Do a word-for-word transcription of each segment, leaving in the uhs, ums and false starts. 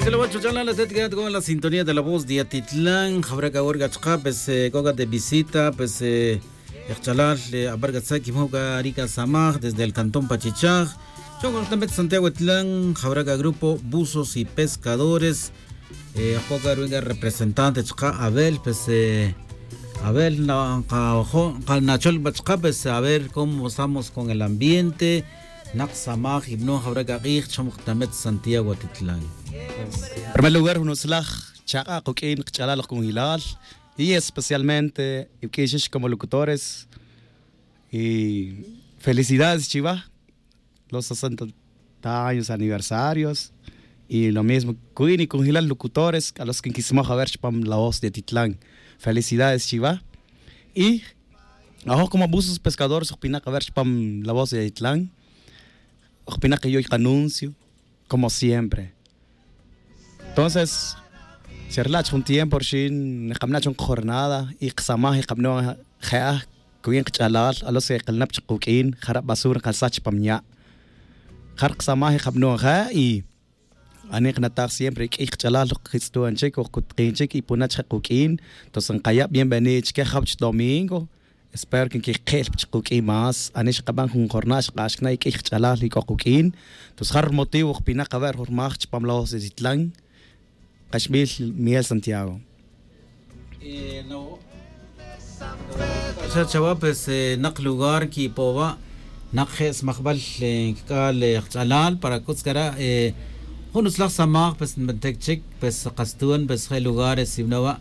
Chalawa chuch'alal atet k'a con la sintonía de la voz de Atitlán jawra k'a wor k'a chqa' pues k'o k'a de visita pues, ejch'alal, abar k'a tzak kimoj k'a ri k'a samaj desde el cantón pachichaj chon k'a jtamet santiago atitlán jawra k'a grupo buzos y pescadores. Ajk'o k'a ruwi' k'a representante chqa' abel pues, abel nqajo' nqanachol pa chqa' pues a ver cómo estamos con el ambiente. Naq samaj y b'no jawra k'a q'ij chom jtamet santiago atitlán. Primer lugar jun utzlaj chaq'a' quk'in qch'alal oj kunjilal y especialmente iwk'in xix como locutores y felicidades chiva los sesenta años aniversarios. Y lo mismo ku'in y kunjilal locutores k'a los kin kismoj aver chipam la voz de atitlán. Felicidades chiva. Y ajoj como buzos pescadores oj pinak aver chipam la voz de atitlán. Oj pinak yoy qanuncio como siempre. Entonces cherla' chi jun tiempo rixin nqab'na' chon qajornada y qasamaj y qab'no' je'aj kuyin qach'alal a los que qilnap chi quk'in jara' basura nqalsaj chipam ya'. Jara' qasamaj y qab'no' je' y ani' nqnataj siempre k'iy qach'alal oj qitz'tuan chik oj kutqin chik y puna' chi je' quk'in. Entonces nqaya' bienvenido chike jawch domingo. Espero que nkiqe'l pa chik quk'in más ani' xqab'an jun jornada xqaxkna' y k'iy qach'alal y k'o quk'in. Entonces jara' rmotivo oj pinak aver jun rmaj chipam la voz de atitlán. Qaxb'il miguel santiago. Xa chawa pues, naq lugar kipo' wa' naq je' smajb'al kik'al qach'alal para kutz kara'. Jun utzlaj samaj pues nb'antik chik pues qastun pues je' lugares sib'na wa'.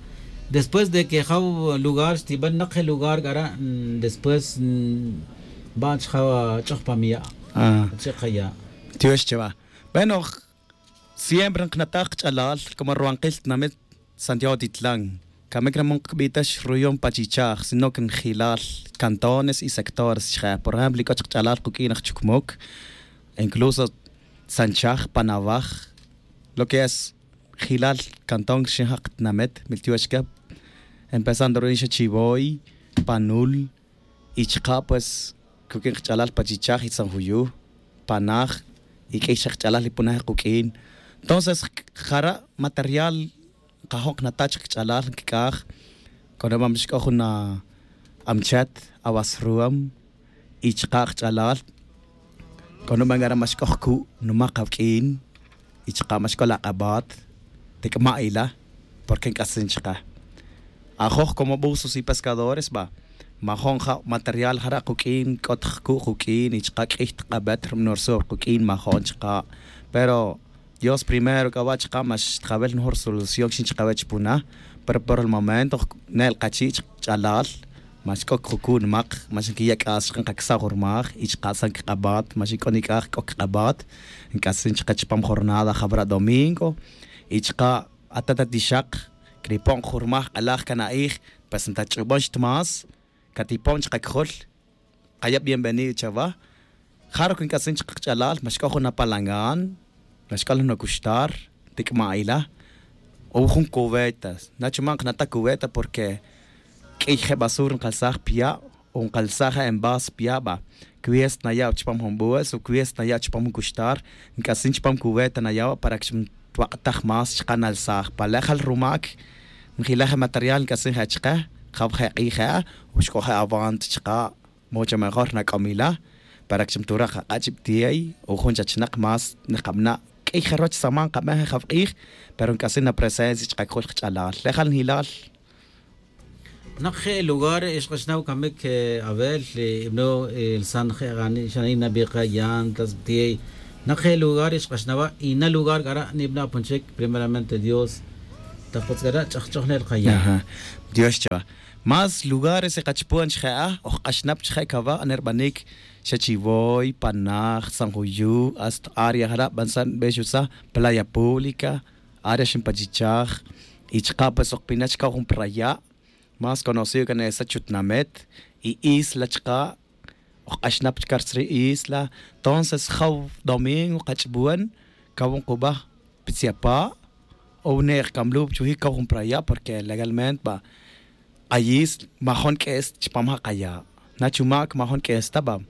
Después de que jaw lugar xtib'an naq je' lugar kara', después nb'an chjaw ch'oj pa miya'. Chi qaya'. Tiox chawa. Bueno, siempre nqnataj qach'alal como rwanqil tinamit santiago titlán. Kamik re' man qb'itax ruyon pachichaj sino que njilal cantones y sectores chje. Por ejemplo y k'o chik qach'alal quk'in aj chukmuk incluso sanchaj panawaj lo que es jilal cantón rixin jaq tinamit miltiox kep. Empezando ru'in xa chivoy, panul, y chqa' pues kuk'in qach'alal pachichaj y tzanjuyu, panaj, y k'iy chaq qach'alal y punaj quk'in. Entonces jara' material nqajo' nqnata' chik qach'alal nkik'aj. K'o nima' mix k'o jun amchat awasruwam y chqa' qach'alal. K'o nima' nk'ara' max k'o jku' numaq awk'in y chqa' max k'o la q'abat tik'ma' ila. Porque nk'asin chqa' ajoj como buzos y pescadores ba majo'n ja' material jara' quk'in k'ot jku' quk'in y chqa' k'iy tq'abet rb'anor sur quk'in majo'n chqa'. Pero dios primero k'a wa' chqa' max tjawel nujor solución xin chqawe' chpuna. Pero por el momento ne'l qachi' chik ch'alal max k'o kjuku' nmaq max nkiya' k'as chqa' nqaksa' jurmaj y chqa' san kq'abat max nk'o nik'aj k'o kq'abat. Nk'asin chqa' chpam jornada jab'ra' domingo y chqa' atat atixaq kripo'n jurmaj q'alaj kan a'ij. Pues ntach'ubon xtmas katipo'n chqa' kjul. Qaya' bienvenido chawa. Jaruk nk'asin chqa' qach'alal max k'o jun apalangan max k'o laj nukuxtar tik'ma' ila. O jun cubeta. Nachu ma' nqnata' cubeta porque k'iy je' basur nqalsaj pya' o nqalsaj je' envas pya' ba. Kwies naya' chpam jun bues o kwies naya' chpam jun kuxtar nk'asin chpam cubeta naya' wa' para que xmtwak'taj más chqa' nalsaj pa le' jal rumak. Njila' je' material nk'asin je' chke jaw je' q'ij je' o xk'o je' avant chqa'. Mucho mejor nak'om ila para que xmturaj aq'a' chib'tiey o jun chachnaq más nqab'na' k'iy je' roch saman nqab'en je' jab'q'ij. Pero nk'asin napresencia chqa' kjul qach'alal le' jal njilal. Naq je' lugar xq'axnaw kamik abel ib'no lsan je' gani xanay nabiqa yantas b'tiey. Naq je' lugar xq'axnawa' y na lugar k'ara' nib'na' pun chik primeramente dios. Taq kutz k'ara' ch'ajch'oj ne'l qaya'. Dios chawa. Más lugares iqachpon chje' a oj q'axnap chje' kawa' nerb'anik xa chivoy panaj san juyu' hasta área jara' b'ansan b'exusa playa pública área xinpachichaj. Y chqa' pues oj pina' chkaw jun praya' más conocido kan esa chutnamet y isla chqa' oj q'axnap chkar tzri' isla. Entonces jaw domingo qach'bon kaw jun qub'aj pitziapa' o wune' oj kamlup chuji' kaw jun praya' porque legalmente ba ayis majon k'es chpam ja' qaya'. Na chumak majon k'es ta ba.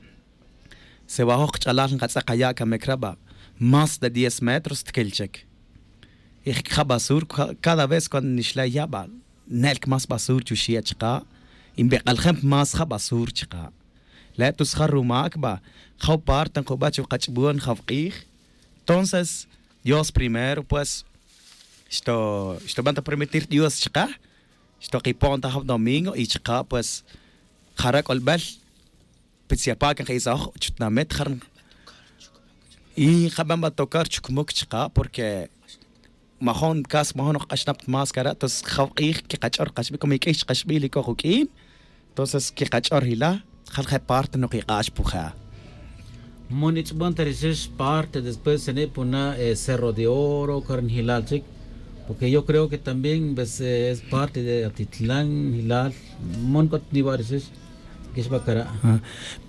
Sewajoj qach'alal nqatz'e' qaya' kamik ra' ba más de diez metros tkil chik. Y jik'ja' basur cada vez cuando nixla' ya' ba ne'el más basur chuxie' chaka'. Y nbik'aljem más ja' basur chaka'. Le' tus ja' rumac ba jaw parte nkuba chu kach'bon jaw k'ij. Entonces dios primero pues xtoban ta permitir dios chaka. Xtokipo'n ta jaw domingo y chaka' pues jara' k'olbel. Pitz yapa' que nka'isajoj chutnamit jara'. Y nkaben ba tocar chukmuk chaka' porque majon casi majon nokak'axnap ta más cara' entonces jaw k'ij quekach'or kaxbil como iq'uix chakaxbil ic'oj uq'uin. Entonces quekach'or ila' jal je' parte nokik'ax puja'. Mon ich'bon ta rixix parte después xane' puna' cerro de oro cor njilal chic. Porque yo creo que también pues es parte de atitlan njilal. Mon c'ot niwa' rixix. Quixba cara'.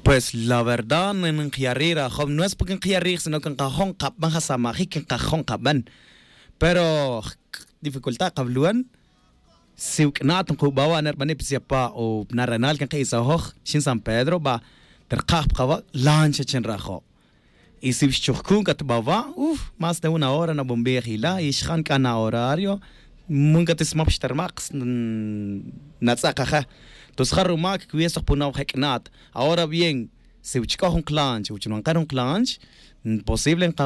Pues la verdad nqyari' rajow no es porque nqyari' sino que nkajo' nkaben jasamajic nkajo' nkaben. Pero dificultad kawluan. Si wuk'nat nkuba wa' nerbani' pitz yapa' o narenal que nka'isajoj xin san pedro ba terkaj pa kawa' lancha chi nrajo'. Y si xchujcun c'a ta ba wa' uf más de una hora nabombij ila' y xjan c'a na horario. Mun c'a ta smop xtermak' natz'ak aje. Tus ja rumac cuesta jpunaw jec'nat ahora bien. Si wich c'o jun klanch wich nwanker jun klanch posible nka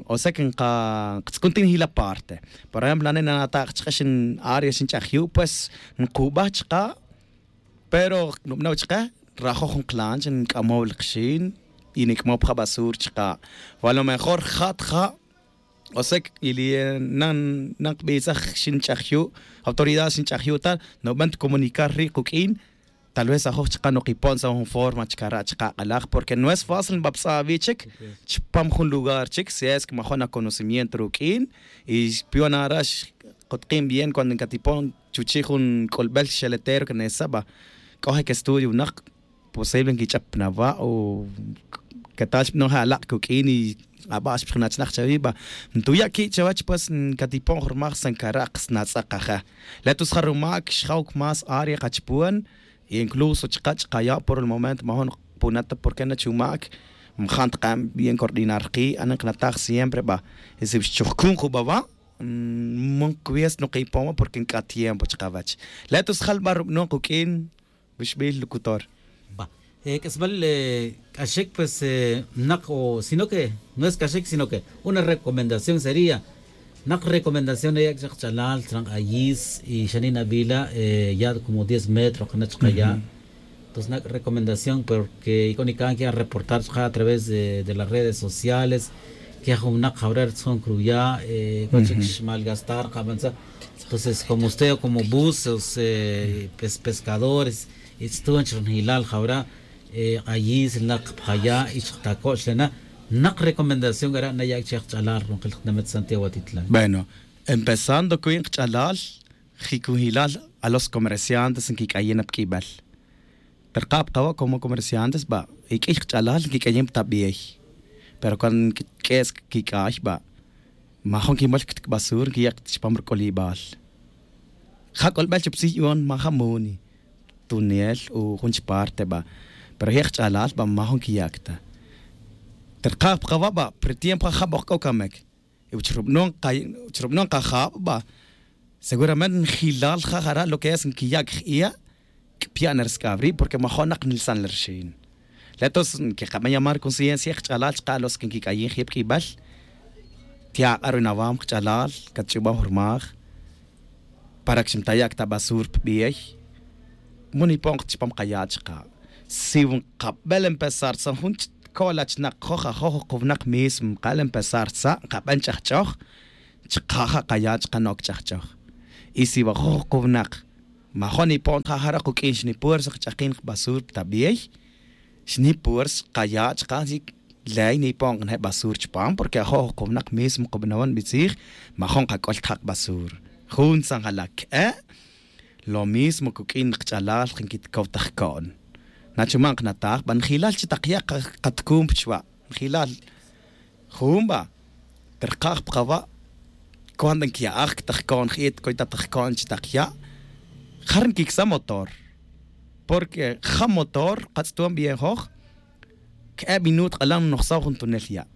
o sea que nka tz'ukun ti' njila parte. Por ejemplo ane' nanata' chke xin área xin ch'aj yu' pues nkuba chka. Pero nubna' wich ke nrajoj jun klanch nc'amow lek xin y nic'mow pa ja basur chka. O a lo mejor ja' ta ja' o sea que y li' nan nan kbisaj xin ch'aj yu' autoridad xin ch'aj yu' ta nuben ta comunicar ri' kuk'in. Tal vez ajoj chka' nokipon sa' jun forma chka' ra' chka' k'alaj porque no es fácil nbaptz'a' awi' chik chpam jun lugar chik si es que majo' na conocimiento ruk'in. Y xpion ara' xkotkin bien cuando nkatipon chuchi' jun k'olbel xeletero que nesa' ba k'o je' que estudio winak posible nkich'ap na wa' o que tal xb'anon je' alaq' kuk'in y aba' xpjinachnak chawi' ba ntuya' ki' chawech pues nkatipon jun rmaj san karaq' snatz'aq aja'. Le' tus ja rumac xjawk más área kachpon y incluso chka' chkaya' por el momento majo' nqpuna ta porque na chumac mjan tqa'n bien coordinar rki' anen qnataj siempre ba. Y si xchujkun juba' wa' man kwies nokipon wa' porque nk'a' tiempo chkawech. Le' tus jalba' rub'anon kuk'in. Wixb'il locutor. Ba k'isb'al k'axik pues naq o sino que no es k'axik sino que una recomendación sería naq recomendación naya' chak ch'alal chran ayis y xanin abila' ya' como diez metros qana chqaya'. Entonces nak' recomendación porque ik'o nikan que a reportar chka' a través de las redes sociales que jun winaq jawre' ritzjon cruya' k'o chik xmalgastar qabansa. Entonces como usted como buzos pescadores y tztun chik rnjilal jawra' k'ayis rinaq pjaya' y chik tako'x lena. Naq recomendación k'ara' naya' chek ch'alal ronqil jnamet santiago atitlan. Bueno, empezando cuin kch'alal jicunjilal a los comerciantes nquic'ayin na pq'uibel. Terka' pkawa' como comerciantes ba y q'uiy kch'alal nquic'ayin pa tabiey. Pero cuando nq'ues quic'ay ba majo' nquimol ctc'basur nquiyac ta chupam ruc'olibal. Ja c'olbel chuptzij yu'on maja' muni tunel o jun chparte ba. Pero je' kch'alal ba majo' nquiyac ta terka' pkawa' ba pero tiempo ja' jabok c'o camic. Y wich rub'anon kajab' ba seguramente njilal ja jara' lo que es nkiya' kj'iya' kpya' na rsc'ab ri' porque majo' nak nilsan la rxin. Le' tos nkikaben llamar conciencia kch'alal chka' los que nkik'ayin jyeb k'ibel. Tya' k'a ru nawam kch'alal katch'ubam jurmaj para que xmtaya' kta basur pbey. Mo nipon chupam kaya' chka' si nkabel empezar tzan jun ko'la chnak joj ajoj jukuwnak mismo ka'l empezar tza' nkaben ch'ajch'oj. Chka' ja' kaya' chka' nok ch'ajch'oj. Y si wajoj jukuwnak majo' nipon ta ja' jara' kuk'in xnipuersa kch'akin kbasur ta bey. Xnipuersa kaya' chka' ley nipon kane' basur chupam porque ajo' jukuwnak mismo kubanawan bitzij majo' nkak'ol ta ja' kbasur. Jun tzan jala' k'e' lo mismo kuk'in kch'alal nkitkow ta jko'n. Nachuman knataj ba njilal chi tak ya' katkun pa chuwa' njilal. Jun ba terkaj pa kawa' cuando nkya'aj ta jko'n ji'it coy ta jko'n chi tak ya' jar nkiksa' motor. Porque ja' motor katz'ton bien joj k'e' minut k'alan nojsaw jun tunel ya'.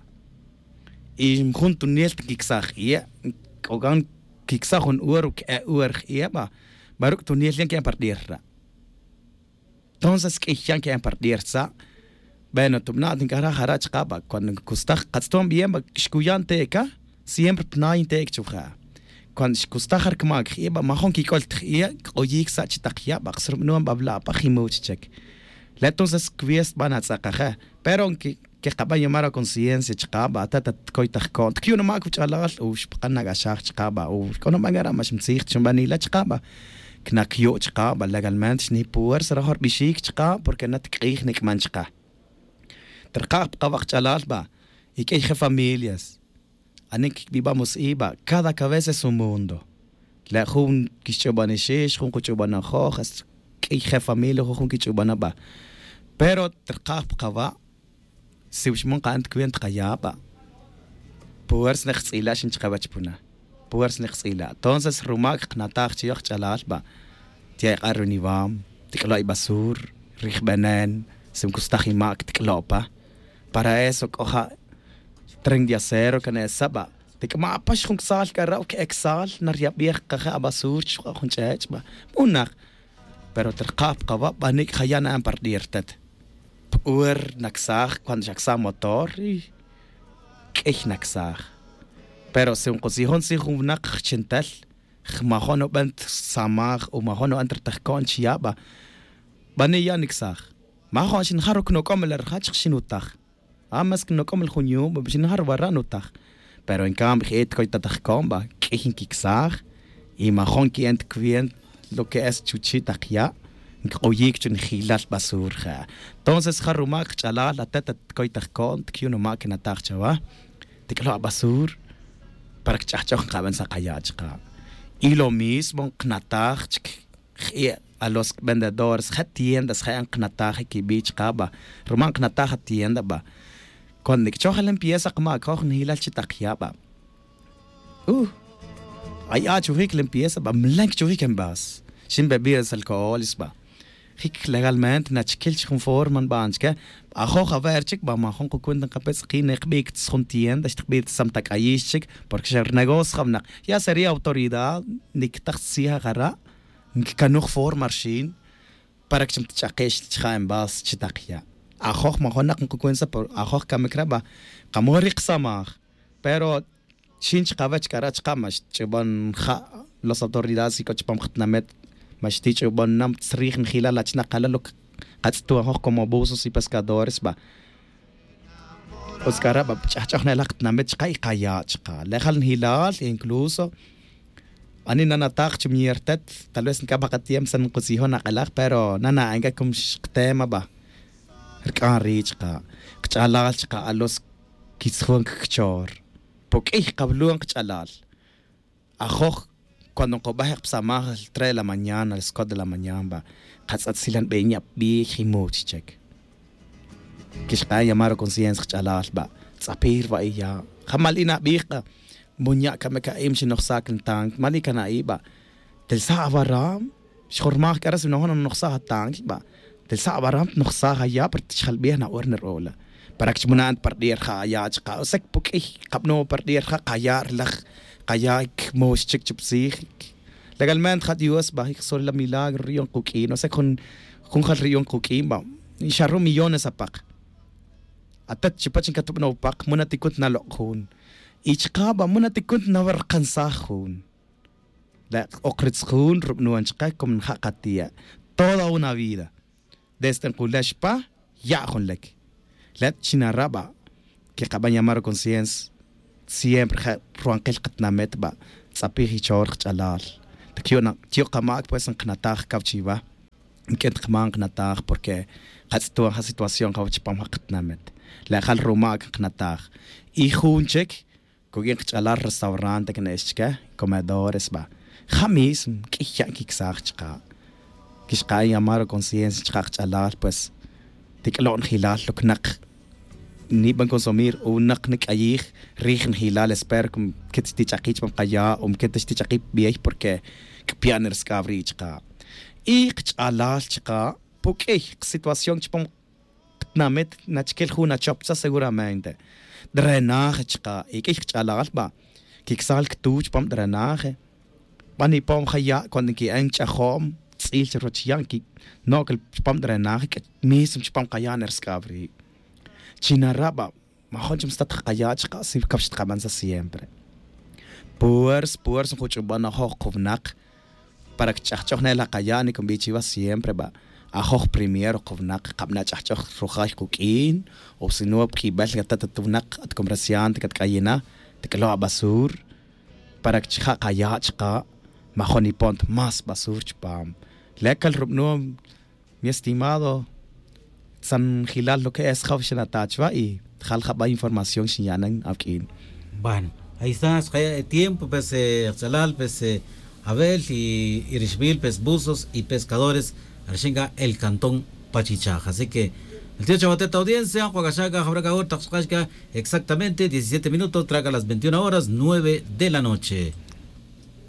Y jun tunel ta nkiksaj iye' c'o can quicsaj jun hora o que'e hora jie' ba, baruc' tunel yan que'en pa rd'ir ra'. Entonces q'uiy yan que'en pa rd'ir tza'e. Bueno, tubna' tinc'ajra' jara' chka' ba cuando ncustaj katz ton bien ba xcuya' nte'ca, siempre pna' yintec' chuja'. Cuando xcustaj jarcmac jie' ba majun quic'ol ta jie', c'oyic sa' chi tak ya' ba kxrubnuan ba bla' pa jimuch chic. Le' entonces cwies ba natz'akaje. Pero quekaban llamar aconciencia chka' ba ata tatcoy tajco'n ticyu'na mac wach'alal o xpakan nac'axaj chka' ba o c'o naban cara' ma xmtzij ta xunbanila chka' ba. Cnac yu' chka' ba legalmente xnipuersa rajo rbixic chka' porque na tic'ij nic'man chka'. Trkaj pa kawak ch'alal ba y q'uiy je familias. Ani quibiban mus'iba cada cabeza es un mundo. Le' jun quixch'uban ixix jun kuch'uban ajoj hasta q'uiy je familia jun jun quich'uban aba. Pero trkaj pa kawa'. Si wixmon kaen ta cuenta kaya' ba. Puersa nek jtz'ila' xin chkawech puna. Puersa nek jtz'ila' entonces rumac knataj chi yoj ch'alal ba. Tiya' ik'a' runivam, tic'lo' ibasur, rijbenen, si ncustaj imac tic'lo' pa. Para eso c'o ja' tren de acero can esa ba. Tic'ama' pax jun ksal c'a ra' que'e ksal naryabij kaje' abasur chixk'a' jun ch'ech' ba. Munak. Pero trkaj pa kawa' ba nik' jaya' na'an pa rd'ir tet. P'ur nacsaj cuando xacsaj motor y q'uiy nacsaj. Pero si nk'utzijon si jun wnak jchintel, jmajon nuben ta samaj o majon nuben ta rtajco'n chi ya' ba. Bani ya' nicsaj. Majon xinjar ruc nuc'om la rjach xinutej. A mas que nuc'om la jun yu'un ba xinjar wara' nutej. Pero en cambio je' ticoy ta tajco'n ba q'uiy nquicsaj. Y majon qui'en ta cuenta lo que es chuchi' tak ya'. Ncak'oyic chu nijilal basur ja. Entonces ja rumac kach'alal ate' taticoy tajco'n ticyu'na mac quinataj chawa. Tic'lo' abasur. Para kch'ajch'oj nkaben sa' kaya' chka'. Y lo mismo nknataj chic je' a los vendedores je' tiendas je' nknataj iquibi' chka' ba. Ruma nknataj atienda ba. Cuando nic'choj limpieza kmac joj nijilal chi tak ya' ba. Ay a' chujic limpieza ba mlen quichujic envas. Xin bebidas alcoholes ba. Jic legalmente nachiquil chi jun forma nban chique. Ajoj aver chic ba majun kucuenta nkapetz' ki' nikbic ta jun tienda xtikbic ta samtac'ayix chic. Porque xa rnegocio ja wnak ya sería autoridad nictaj tzija jara'. Nquicanuj forma rxin. Para que chi mtch'akix chija' envas chi tak ya'. Ajoj majonak nkucuenta pero ajoj camic re' ba. Kamoj ri ksamaj. Pero xin chkawech k'ara' chka' ma xtich'ubon ja' los autoridades y c'o chupam katinamit. Ma xtich'ubon na tzrij nijilal achnak kala' lo katz'tuan joj como buzos y pescadores ba. Utz k'ara' ba ch'ajch'oj na elak katinamit chka' y kaya' chka' le' jal nijilal incluso ani na nataj chi miyertet. Tal vez nc'abaj katiempo san nkutzijon ak'elaj pero na na'enca como xktema ba. Rc'an ri' chka' kach'alal chka' a los quitzjon cacchor. Puq'uiy kawlu'on kach'alal. Ajoj cuando nkubej pa samaj tres de la mañana las cuatro de la mañana ba. Katz'atzilan benya' biij y much chec. Quixk'an llamar ruconciencia kach'alal ba. Tz'apij ruba' iya'. Jamal ina' biij k'a. Munya' camic a'im xinojsac ntanc mal ica na'i' ba. Telsa' awaram. Xjormaj c'a re' si nojon nojsaj atanc ba. Telsa' awaram nojsaj aya' pero tichjalbij na'or nir'o'la. Para que chi muna'an ta pa rd'ir ja' aya' chka' o sea que puq'uiy kabno' pa rd'ir ja' kaya' rilaj. Kaya' cmox chic chup tzij. Legalmente ja' dios ba jic sol la milagro riyon kuq'uin o sea que jun jal riyon kuq'uin ba. Xa ru' millones apak. Atet chipach ncatubno' pak muna ticunt nalok' jun. Y chka' ba muna ticunt nawerkansaj jun. Le' ok ritz jun rubnuan chka' como nja' katiya'. Toda una vida desde nkule' xpa ya' jun lek. Le' chi nara' ba. Quekaban llamar ruconciencia. Siempre je' ruankil katinamit ba. Tz'apij ichor kach'alal. Ticyu'na tiyo' kamac pues nknataj caw chiwa. Nq'uin ta kman kanataj porque katz'tuan ja situación ja wach chupam ja katinamit. Le' jal rumac nkanataj. Y jun chic cuq'uin kach'alal restaurante kne'ex chique comedores ba. Ja mismo q'uiy ya' nquicsaj chka'. Quixka'an llamar ruconciencia chka' kach'alal pues. Tic'lo' nijilal lo cnak. Niban consumir o nak nic'ayij rij nijilal espero que mquit xtich'aki' chupam kaya' o mquit xtich'aki' pa bey porque. Cpia' nirasc'ab ri' chka'. Y kach'alal chka' puq'uiy kasituación chupam katinamit nachiquil jun nachoptza seguramente. Drenaje chka' y q'uiy kach'alal ba. Quicsaj li ctuw chupam drenaje. Ban ipom ja ya' cuando nqui'an ch'ajom tz'il churuwach ya' nquinok chupam drenaje. Mismo chupam kaya' nersc'ab ri'. Chi naraba' majun chi mstat kaya' chaka' si cawch tkaban sa siempre. Puers puers njuch'uban ajoj kuwnak para cch'ajch'oj ne la kaya' nicunbi chiwa siempre ba' ajoj primero kuwnak kabana' ch'ajch'oj rujay kuq'uin. O sino pq'uibel catat at wnak at comerciante catc'ayina tic'alo' abasur para chija' kaya' chaka'. Majun ipon ta más basur chupam. Le' cal rubno' mi estimado tzanjilal lo que es jaw xinata chuwa y jal jaba' información xinya'nan awq'uin. Bueno, ahí está xkaya' tiempo pues, jtz'alal pues, avel y rixbil pues buzos y pescadores, rixin c'a el cantón pachichaj. Así que el tío chawatet audiencia jwa' c'a xa c'a jawra c'a hora tak xk'ax c'a exactamente diecisiete minutos traca las veintiuna horas nueve de la noche.